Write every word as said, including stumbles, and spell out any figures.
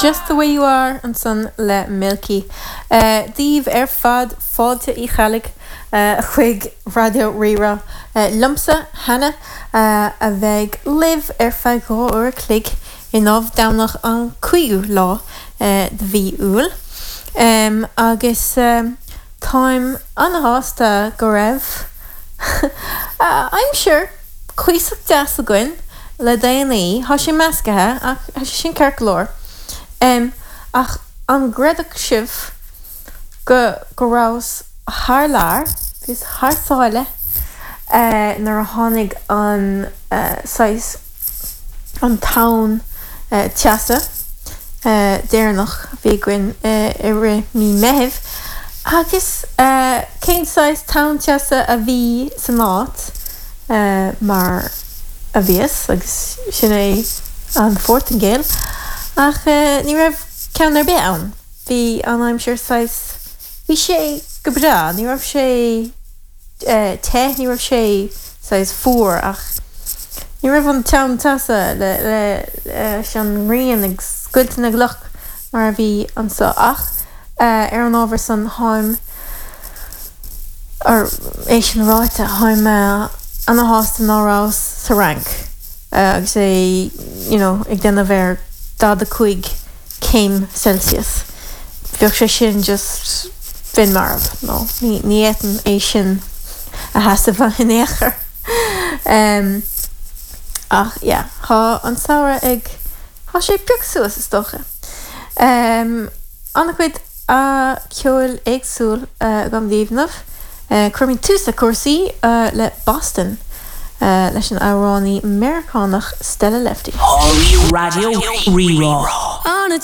Just the way you are ansan le Milky. Uh, Daoibh ar fad fáilte Uí Cheallaigh uh, chuig Raidió Rí-Rá uh, liomsa Hannah uh, a bheidh libh ar feadh dhá uair a chloig inniu Domhnach an cúigiú lá uh, de mhí Iúil. Um, agus um, táim an-shásta go raibh uh, aimsir cuíosach deas againn le déanaí Tá sé measctha ach tá sé sin ceart go leor. Um, ach an gcreidfeadh sibh go go rabhas thar lear bhíos thar sáile uh, nuair a tháinig an uh, saghas an tonn uh, teasa uh, deireanach bhí againn uh, i rith mí Mheithimh agus uh, cén saghas tonn teasa a bhí san áit uh, mar a bhíos agus sin é an Phortaingéil ach uh, ní raibh ceann ar bith ann. Bhí an aimsir saghas bhí sé go breá, ní raibh sé uh, te ní raibh sé saghas fuar ach ní raibh an tonn teasa le le leis an ngrian ag scoilteadh na gcloch mar a bhí anseo ach uh, ar an ábhar san táim ar é sin ráite táim uh, an-shásta ná rabhas sa Fhrainc uh, agus é you know, ag déanamh ar daichead a cúig céim Celsius. Bheadh sé sin just bheinn marbh nó ní ní fhéadfainn é sin a sheasamh in aon chor. Um, ach yeah, tá an samhradh ag Tá sé piocadh suas is dócha. Um, an-chuid a ceoil éagsúil uh, agam daoibh inniu. Uh, Cuirfimid tús le cúrsaí uh, le Boston uh, leis an amhránaí Meiriceánach Stella Lefty. Raidió Rí-Rá. On a